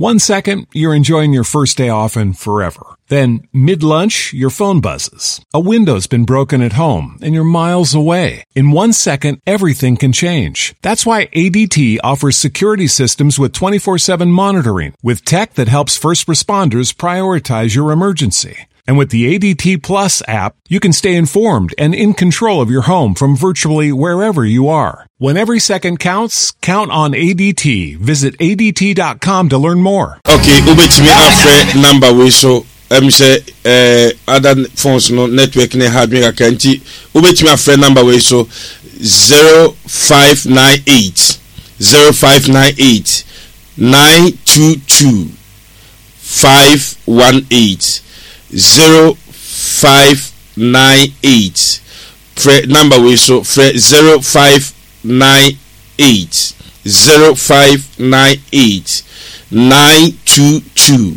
One second, you're enjoying your first day off and forever. Then, mid lunch, your phone buzzes. A window's been broken at home and you're miles away. In one second, everything can change. That's why ADT offers security systems with 24 7 monitoring, with tech that helps first responders prioritize your emergency. And with the ADT Plus app, you can stay informed and in control of your home from virtually wherever you are. When every second counts, count on ADT. Visit ADT.com to learn more. Okay, wobɛtumi afrɛ number wei so ɛm sɛ eh, other phones no network ne ha adwene kakra nti wobɛtumi afrɛ number wei so 0598 0598 922 518 0598 Frɛ number wei so, frɛ 0598 0598 922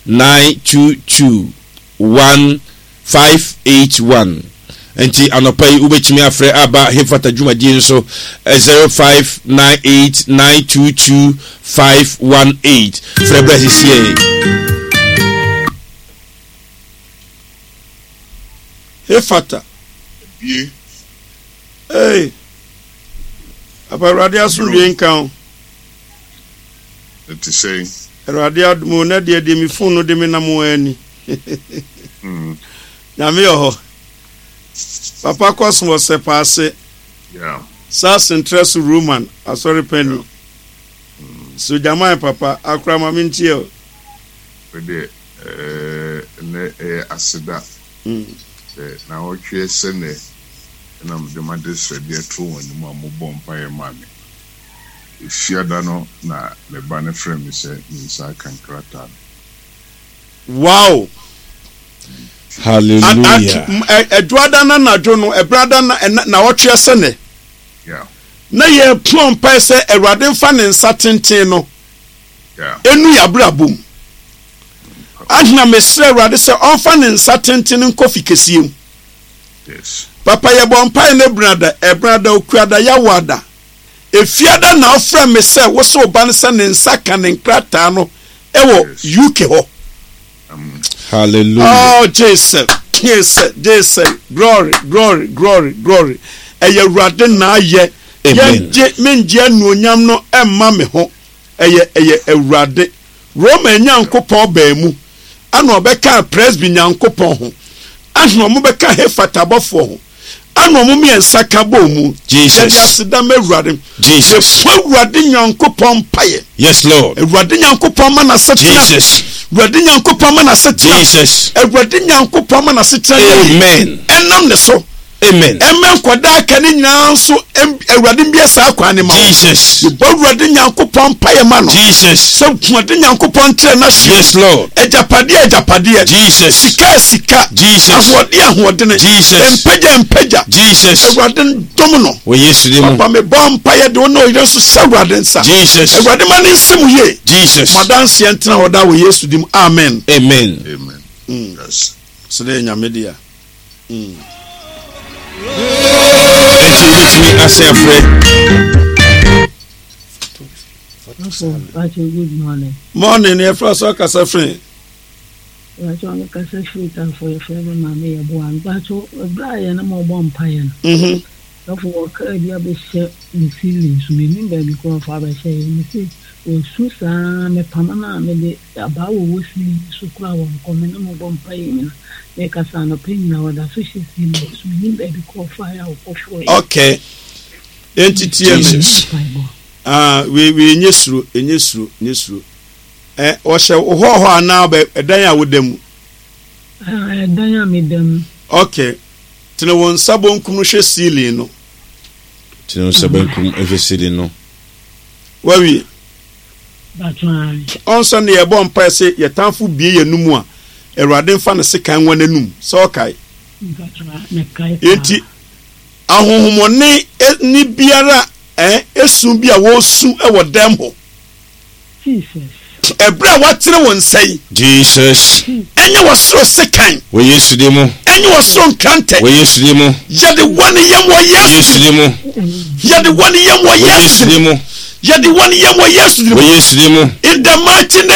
922 1581. Nti anɔpa yi wobɛtumi afrɛ aba Hefata dwumadie no so 0598 922 518. Frɛ berɛ sisiɛ. Hefata. Bie. Hey. Papa Awurade asomdwe nka wo. Ɛte sɛn? Awurade adom o, na deɛ deɛ me phone no de me nam ara ni. Nyame wɔ hɔ. Papa Cosmos Sɛpaase. Yeah. Saa Sentrɛ so Roman asɔre panni. Yeah. Sogyaman papa, akora ma mentie o. Wo deɛ ɛnnɛ ɛyɛ aseda sɛ naawɔtweɛ sɛ nnɛ na mede m'adesrɛdeɛ too wɔn anim a wɔbɔɔ mpaeɛ maa me. Efiada no na me ba no frɛɛ me sɛ ne nsa aka nkrataa no. Wow! Hallelujah. Ɛdwoada no anadwo no, ɛbrada na naawɔtweɛ sɛ nnɛ. Yeah. Na yɛpɔn mpae sɛ Awurade mfa ne nsa tenten no ɛnu yɛabrabɔ mu. Ahena mesrɛ Awurade sɛ ɔmfa ne nsa tenten nkɔ fi kɛseɛ mu. Papa yɛbɔ mpae no ɛbenada, ɛbenada, okuada, yawoada. Efiada na ɔfrɛ me sɛ wo sɛ ɔba no sɛ ne nsa ka ne nkrataa no ɛwɔ UK hɔ. Hallelujah. Oh Jesus, Jesus, Jesus, glory, glory, glory, glory. Ɛyɛ Awurade na ayɛ. Yɛngye mengye anuonyam no ɛmma me ho. Ɛyɛ ɛyɛ Awurade. Roma Nyankopɔn baa mu, ana ɔbɛkaa Presby Nyankopɔn ho, ana ɔmo bɛka Hefat abɔfoɔ ho, ana ɔmo mmiɛnsa ka bɔɔ mu. Jesus. Yɛde aseda ma Awurade. Jesus. Yɛbɔ Awurade Nyankopɔn mpaeɛ. Yes, Lord. Awurade Nyankopɔn ma n'asetena. Jesus. Awurade Nyankopɔn ma n'asetena. Jesus. Awurade Nyankopɔn ma n'asetena yɛ yie. Amen. Ɛnam ne so. Amen. Ɛmɛ nkwadaa aka ne nyinaa nso Awurade mbie saa kwan ne ma. Jesus. Yɛbɔ Awurade Nyankopɔn mpaeɛ ma no. Jesus. Sɛ Awurade Nyankopɔn nkyerɛ n'ahyeɛ. Yes, Lord. Agyapadeɛ agyapadeɛ. Jesus. Sika sika. Jesus. Ahoɔden ahoɔdene. Jesus. Mpagya mpagya. Jesus. Awurade ndom no. Wɔ Yesu din mu. Papa mebɔ mpaeɛ de wo ne ɔyere nso hyɛ Awurade nsa. Jesus. Awurade ma ne nsi mu yie. Jesus. Mo adanseɛ ntena hɔ daa wɔ Yesu din mu. Amen. Amen. Amen. Yes. Sɛ dɛ Nyame dea. Enti wobɛtumi asan afrɛ. Good morning. Morning, yɛfrɛ sɛ ɔkasa firi. Mpakyɛ ɔno kasa firi tafo yɛfrɛ me maame yɛ boa mpakyɛ ɛberɛ a yɛne mo bɔ mpaeɛ no. Sɔfo ɔkra bi abɛhyɛ me ceiling so mennim baabi koraa ɔfa abɛhyɛ yɛ mese wasu saa mepamo no a mede Abaa wɔ wɔ ceiling yi so koraa wɔnkɔ me ne mo bɔ mpaeɛ nyina mekasa anɔpa nyina wɔda so hyɛ ceiling yi so mennim baabi koraa ɔfaeɛ a ɔkɔfoeɛ. Okay enti tie me ah wei wei nye suro enye suro nye suro ɛ ɔhyɛ wo hɔ hɔ anaa ɔbɛ ɛdan a woda mu. Ah ɛdan a meda mu. Okay tene wo nsa bonkum no hwɛ ceiling no. Tene wo nsa benkum hwɛ ceiling no. Wawie. Ɔnsɛ ne yɛbɔ mpae sɛ yɛ tamfo bue yɛn anum a, Awurade mfa ne sekan nwa n'anum. Sɛ ɔkae? Enti ahonhommɔne ne biara eh, esu bi a wɔresu wɔ dɛm hɔ. Ɛberɛ a woatene wo nsa yi. Jesus. Ɛnyɛ wɔ soro sekan. Wɔ Yesu din mu. Ɛnyɛ wɔ soro nkrantɛ. Wɔ Yesu din mu. Yɛde wɔn yam wɔ Yesu din mu. Yɛde wɔn yam wɔ Yesu din mu. Yɛde wɔn yam wɔ Yesu din mu. Wɔ Yesu din mu. In the mighty name.